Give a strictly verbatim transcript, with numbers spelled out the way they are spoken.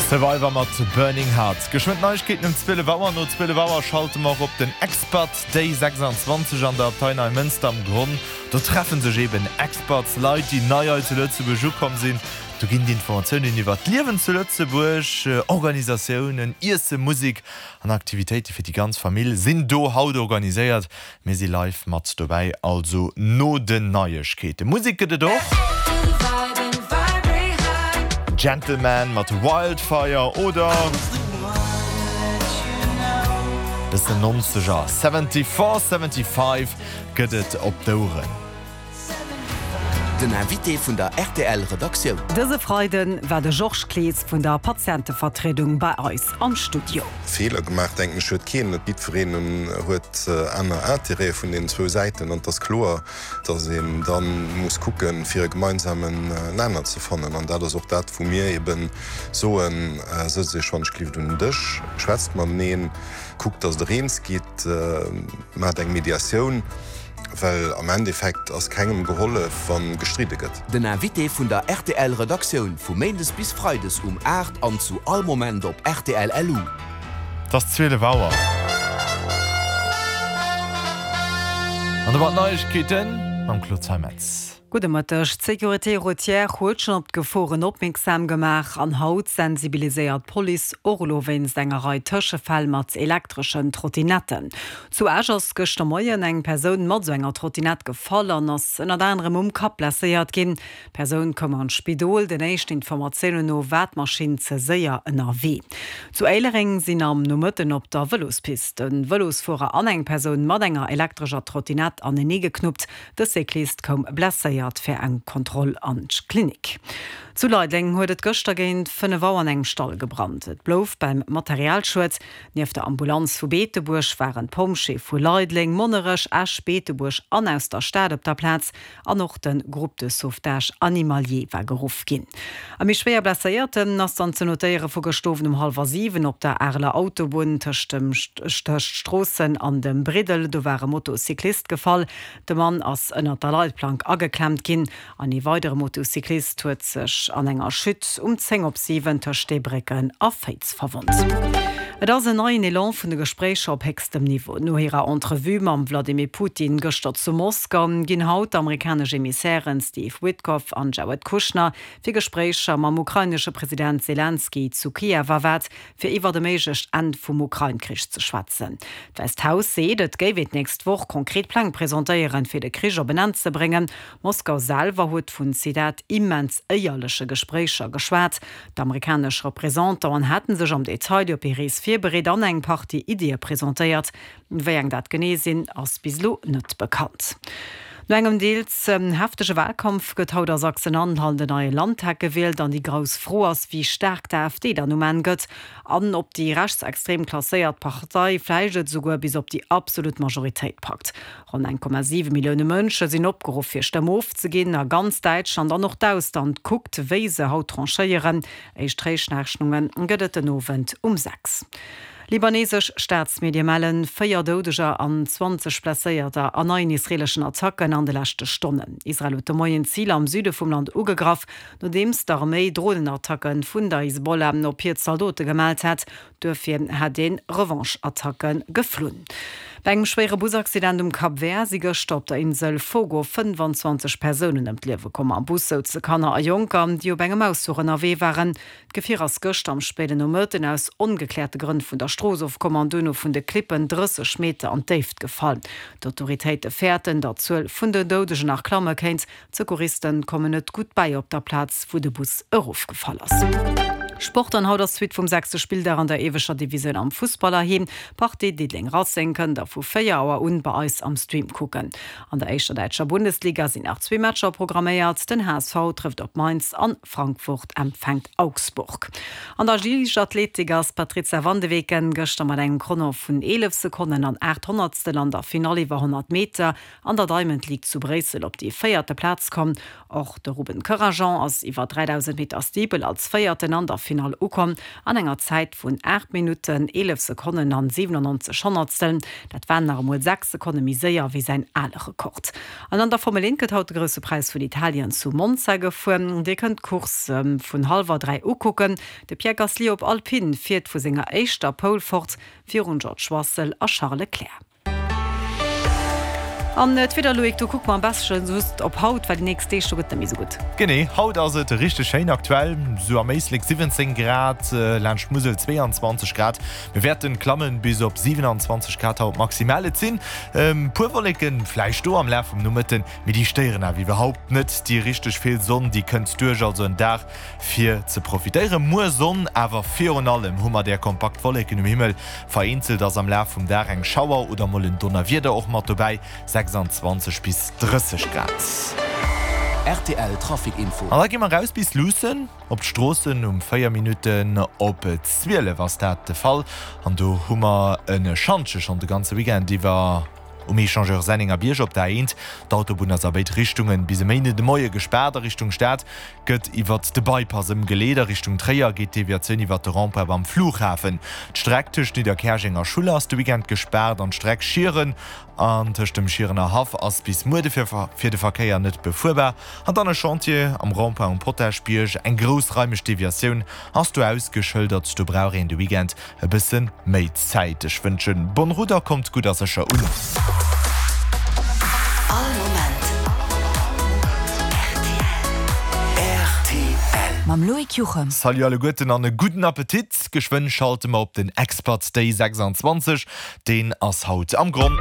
Survivor mat Burning Hearts. Geschwënn Neiegkeeten um zwielef Auer. No zwielef Auer schalte mer op den Expat Day sechsundzwanzeg an der Abtei Neimënster am Gronn. Do treffen sech eben Expats, Leit, déi nei hei zu Lëtzebuerg ukomm sinn. Do ginn d'Informatiounen iwwer d'Liewen zu Lëtzebuerg, Organisatiounen, Iessen, Musek an Aktivitéite fir déi ganz Famill sinn do haut organiséiert. Mir si live mat dobäi, also no den Neiegkeeten. Musek gëtt et och. Gentleman mat Wildfire oder bëssen nonzeger, seventy-four seventy-five gëtt et op d'Oueren. Den Invité vun der R T L Redaktioun. Dëse Freide war de Georges Clees vun der Patientevertriedung bei eis am Studio. Feeler gemaach, denken ech, huet keen. Net jiddwereen huet aner Interête vun den zwou Säiten an et ass kloer, datt een dann muss kucken, fir e gemeinsamen Nenner ze fannen, an dat ass och dat, wou mir eben soen: Sëtzt iech wann et geet un den Dësch, schwätzt mateneen, kuckt, datt der eens gitt, maacht eng Mediatioun, well am Endeffekt ass kengem gehollef, wann gestridde gëtt. Den Invité vun der R T L Redaktioun vu Méindes bis Freides um aacht an zu all Moment op R T L L U. Et ass zwielef Auer. An domat d'Neiegkeeten mam Claude Zeimetz. Gudde Mëtteg. D'Sécurité routière huet schonn op d'Geforen opmierksam gemaach an haut sensibiliséiert d'Police och elo wéinst enger Rei Tëschefäll mat elektreschen Trottinetten. Zu Esch ass gëschter Moien eng Persoun mat sou enger Trottinett gefall an ass ënnert anerem um Kapp blesséiert ginn. D'Persoun koum an d'Spidol, den éischten Informatiounen no war d'Maschinn ze séier ënnerwee. Zu Éilereng sinn am Nomëtten op der Vëlospist e Vëlosfuerer an eng Persoun mat enger elektrescher Trottinett anenee geknuppt. De Cyclist koum blesséiert fir eng Kontroll an d'Klinik. Zu Leideleng huet et gëschter géint fënnef Auer an engem Stall gebrannt. Et blouf beim Materialschued. Nieft der Ambulanz vu Beetebuerg waren d'Pompjeeë vu Leideleng, Monnerech, Esch, Beetebuerg an aus der Stad op der Plaz an och de Groupe de sauvetage animalier war geruff ginn. E méi schwéier Blesséierten ass dann ze notéiere vu gëschter Owend um hallwer siwen op der Areler Autobunn tëscht dem tëscht Stroossen an dem Briddel. Do war e Motocyclist gefall. De Mann ass ënnert der Leitplank ageklemmt ginn. An e weidere Motocyclist huet sech an enger Chute um zéng op siwen tëscht Steebrécken a Féiz verwonnt. Et ass en neien Elan vun de Gespréicher op héchstem Niveau. No hirer Entrevue mam Vladimir Putin gëschter zu Moskau ginn haut d'amerikanesch Emissairen Steve Witkoff an Jared Kushner fir Gespréicher mam ukrainesche President Selenskyj zu Kiew erwaart, fir iwwer e méiglecht Enn vum Ukrain-Krich ze schwätzen. D'Wäisst Haus seet, et géif et d'nächst Woch konkret Pläng presentéieren, fir de Krich op en Enn ze bréngen. Moskau selwer huet vun, Zitat, immens éierleche Gespréicher geschwat. D'amerikanesch Représentanten hätte sech am Detail op hir Rees virbereet an eng Partie Iddie presentéiert. Wéi eng dat genee sinn, ass bis elo net bekannt. No engem deels heftege Walkampf gëtt haut a Sachsen-Anhalt den neie Landtag gewielt an déi grouss Fro ass, wéi staark d'A F D dann um Enn gëtt an ob déi rechtsextrem klasséiert Partei vläicht et souguer bis op déi absolut Majoritéit packt. Ronn eng Komma siwe Millioune Mënsche sinn opgeruff, hir Stëmm ofzeginn a ganz Däitschland an och d'Ausland kuckt, wéi se haut tranchéieren. Éischt Réichrechnunge gëtt et den Owend um sechs. Libanesesch Staatsmedie mellen véier Doudeger an zwanzeg Blesséierter an neien israeleschen Attacken an de leschte Stonnen. Israel huet de Moien Ziler am Süde vum Land ugegraff, nodeems d'Arméi Dronenattacke vun der Hisbollah op hir Zaldote gemellt hat. Duerfir hätt ee Revanche-Attacke geflunn. Bei engem schwéiere Busaccident um Cap Vert si gëschter op der Insel Fogo fënnfanzwanzeg Persounen ëm d'Liewe komm. Am Bus souze Kanner a Jonker, déi op engem Ausfluch ënnerwee waren. D'Gefier ass gëschter am spéiden Nomëtten aus ongekläerte Grënn vun der Strooss ofkomm an duerno vun de Klippen drësseg Meter an d'Déift gefall. D'Autoritéite fäerten, datt d'Zuel vun den Doudegen nach klamme kéint. D'Secouristen kommen net gutt bäi op der Plaz, wou de Bus erofgefall ass. Sport an haut ass d'Suite vum sechste Spilldag an der ieweschter Divisioun am Fussball heiheem. D'Partie Diddeleng Racing kënnt der vu véier Auer un bei eis am Stream kucken. An der éischter däitscher Bundesliga sinn nach zwee Matcher programméiert. Den H S V trëfft op Mainz an Frankfurt empfänkt Augsburg. An der Liichtathletik ass d'Patrizia van de Weken gëschter mat engem Chrono vun eelef Sekonnen an aacht Honnertstel an der Finall iwwer honnert Meter an der Diamond League zu Bréissel op déi véierte Plaz komm. Och de Ruben Corajon ass iwwer dräidausend Meter Steeple als Véierten an der Halleffinall ukomm an enger Zäit vun aacht Minutten, eelef Sekonnen an siwenannonzeg Honnertstel. Dat war nach emol sechs Sekonne méi séier wéi säin ale Rekord. An an der Formel eent gëtt haut de Grousse Präis vun Italien zu Monza gefuer. Dir kënnt d'Course vun hallwer dräi ukucken. De Pierre Gasly op Alpine fiert vu senger éischter Pole fort, virun George Russell a Charles Leclerc. An d'Wieder, Loïc, do kucke mer am beschten just op haut, well déi nächst Deeg, do gëtt net méi sou gutt. Genee, haut ass et richteg schéin, aktuell sou am Éislek siwwenzéng Grad, laanscht d'Musel zweeanzwanzeg Grad. Mir wäerten klammen bis op siwenanzwanzeg Grad haut maximal. Et sinn puer Wolleken vläicht do am Laf vum Nomëtten, mee déi stéieren awer iwwerhaupt net. Déi richteg vill Sonn, déi kënnt duerch, also en Dag fir ze profitéieren. Muer Sonn, awer virun allem hu mer där kompakt Wolleken um Himmel. Vereenzelt ass am Laf vum Dag eng Schauer oder mol en Donnerwieder och mat dobäi, sechsanzwanzeg bis drësseg Grad. Rtl Trafic Info. An da gi mer raus bis Luussen op d'Stroossen. Um véier Minutten op zwielef ass dat de Fall an do hu mer e Schantje schonn de ganze Weekend iwwer um Echangeur Sennengerbierg op der A eent. D'Autobunn ass a béid Richtungen bis e Méinden de Moie gespaart. A Richtung Stad gëtt iwwert de Bypass ëmgeleet. A Richtung Tréier geet d'Deviatioun iwwert de Rond-point beim Flughafen. D'Streck tëscht Nidderkäerjeng a Schuller ass de Weekend gespaart an d'Streck Schieren an tëscht dem Schierener Haff ass bis muer de fir de Verkéier net befuerbar. An dann e Chantier am Rond-point um Potaschbierg. Eng groussraimeg Deviatioun ass do ausgeschëldert. Do brauch een de Weekend e bësse méi Zäit. Ech wënschen bonne route a kommt gutt a sécher un. All Moment rtl. Mam Loïc Juchem. Salut alleguerten an e gudden Appetit. Geschwënn schalte mer op den Expert Day sechsanzwanzeg. Deen ass haut am Gronn.